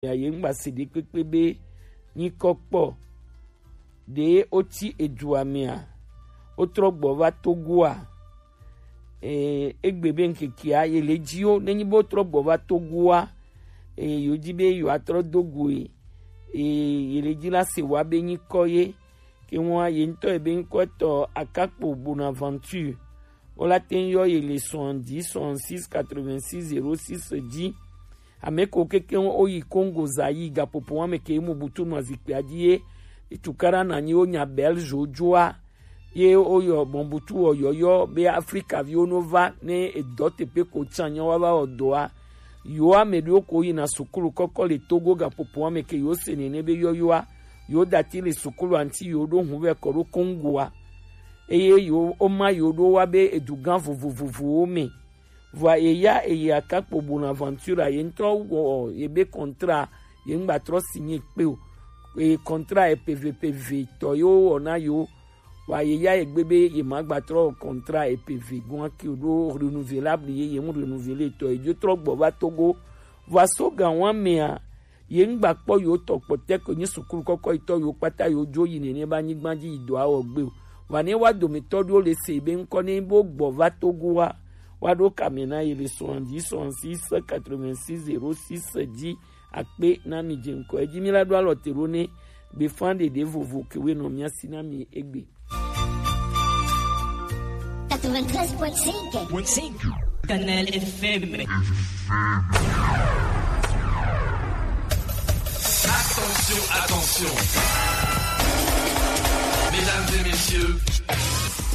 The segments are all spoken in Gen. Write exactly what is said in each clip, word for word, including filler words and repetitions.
ya ye ŋgba se ɖekpekpe be nyikɔ kpɔ. Ɖe wotsi edua mea, wotrɔ gbɔ va Togoa. Ee, egbe be ŋkekea ye le dzi wo, nenyi be wotrɔ gbɔ va Togoa, ee, yewo dzi be yewoatrɔ do goe. Ee, ye le dzi la se wa be nyikɔ ye. Ke ŋua ye ŋutɔ ye be ŋkɔtɔ Akakpo Bonaventure. Wo la te ŋu yɔ ye le soixante-dix, soixante-six, quatre-vingt-six, zéro six dzi. Ame ko kekeŋ wo yi Congo Zaïre gaƒoƒo wa me ke mu butu nɔ zikpuia dzi ye. Tukaɖa na nyi wo nya Belge wo dzoa. Ye wo yɔ bɔn butu wɔ yɔyɔ be Afrika viwo no va ne edɔ teƒe ko tsa nyɔ wa va wɔ dɔa. Yewo ame ɖewo ko yina sukulu kɔkɔ le Togo gaƒoƒo wa me ke yewo se nene be yɔyɔa. Yewo dati le sukulu anti yewo ɖo ŋu vɛ kɔ ɖo Congoa. Eye yewo, woma yewo ɖo wa be edugã vovovovowo me. Vɔa ye ya eye Akakpo Bonaventure ye ŋutɔ wɔ ye be contrat ye ŋgba trɔ signé kpe o. Eye contrat epe eve pe eve tɔ ye wo wɔ na yewo. Vɔa ye ya egbe be ye ma gba trɔ contrat epe eve gɔn ake o ɖo renouvelable ye ye ŋu renouveler tɔ ye dzo trɔ gbɔ va Togo. Vɔa so gan wa mea, ye ŋgba kpɔ yewo tɔ kpɔtɛ ko nyi sukulu kɔkɔ yi tɔ yewo kpata yewo dzo yi nene ba nyigba dzi yi dɔa wɔ gbe o. Vɔa ne wa dometɔ ɖewo le se be ŋkɔ ne bo gbɔ va Togoa, wa ɖo kame na ye le soixante-dix, soixante-six, quatre-vingt-six, zéro six dzi. Akpe na mi dze ŋkɔ edzi mi la ɖo alɔ te ɖo ne gbefa ɖeɖe vovo ke we nɔ mia si na mi egbe. Quatre-vingt-treize point cinq. Canal F M. Attention, attention. Mesdames et messieurs,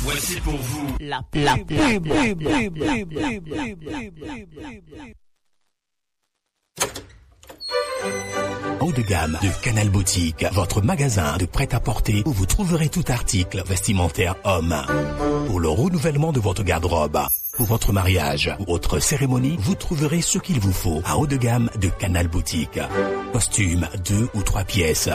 voici pour vous la pub. Haut de gamme de Canal Boutique, votre magasin de prêt-à-porter où vous trouverez tout article vestimentaire homme. Pour le renouvellement de votre garde-robe, pour votre mariage ou autre cérémonie, vous trouverez ce qu'il vous faut à haut de gamme de Canal Boutique. Costume, deux ou trois pièces.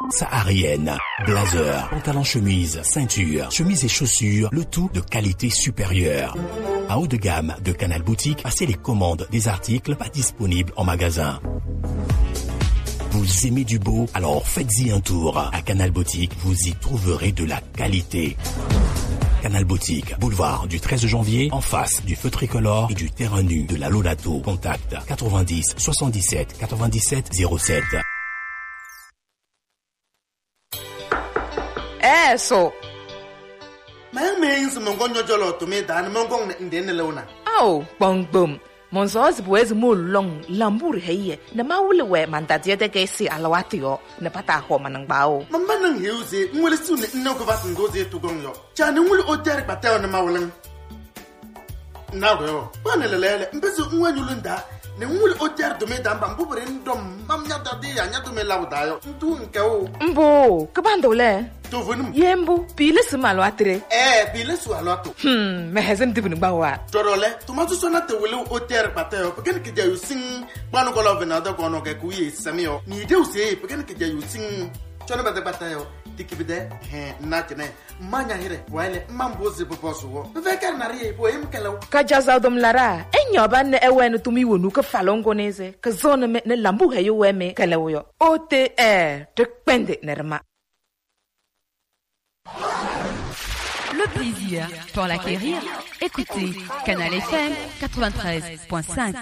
Saharienne, blazer, pantalon chemise, ceinture, chemise et chaussures, le tout de qualité supérieure. À haut de gamme de Canal Boutique, passez les commandes des articles pas disponibles en magasin. Vous aimez du beau ? Alors faites-y un tour. À Canal Boutique, vous y trouverez de la qualité. Canal Boutique, boulevard du treize janvier, en face du feu tricolore et du terrain nu de la Lolato. Contact quatre-vingt-dix soixante-dix-sept quatre-vingt-dix-sept zéro sept. Eh, so. Mɛ mɛ yin si mɔngɔ nyɔjɔ lɔ to me da ni mɔngɔ ne nde ne lɛ wona. Ao, kpɔngbom. Mɔnzɔ zi bo ezi mo long lambur heye. Ne ma wuli we manda die de ke si alawati yo. Ne pata ho manangba o. Mamba nang heu ze, ngwele su ne nne ko vat ndo ze to gong yo. Cha ne ngwele o der kpata yo ne ma wuli. Na go yo. Ba ne lele le. Mbezu nwa nyulu nda. Ne ngwele o der do me da mba mbubure ndo mam nya da de ya nya do me lawo da yo. Ndu nke o. Mbo, ke bando le. To vunum. Ye mbo, pile si malo atre. Eh, pile su alo ato. Hmm, me hezem dibuni ba wa. Toro le, to ma tu so na te wele o ter pata yo. Peken ke ja yo sing. Ba no ko lo vena da ko no ke ku ye sami yo. Ni de u se, peken ke ja yo sing. Cho na ba da pata yo. Dikibide, he, na tene. Manya hire, wa ile, mambo zi bo bosu wo. Ve ker na rie, bo em kelo. Ka jaza dom lara, enyo ba ne ewe ne tumi wonu ke falongo ne ze. Ke zone me, ne lambu he yo we me, kele wo yo. O T R, te kpende ne rema. Le plaisir pour l'acquérir, écoutez Canal F M quatre-vingt-treize point cinq.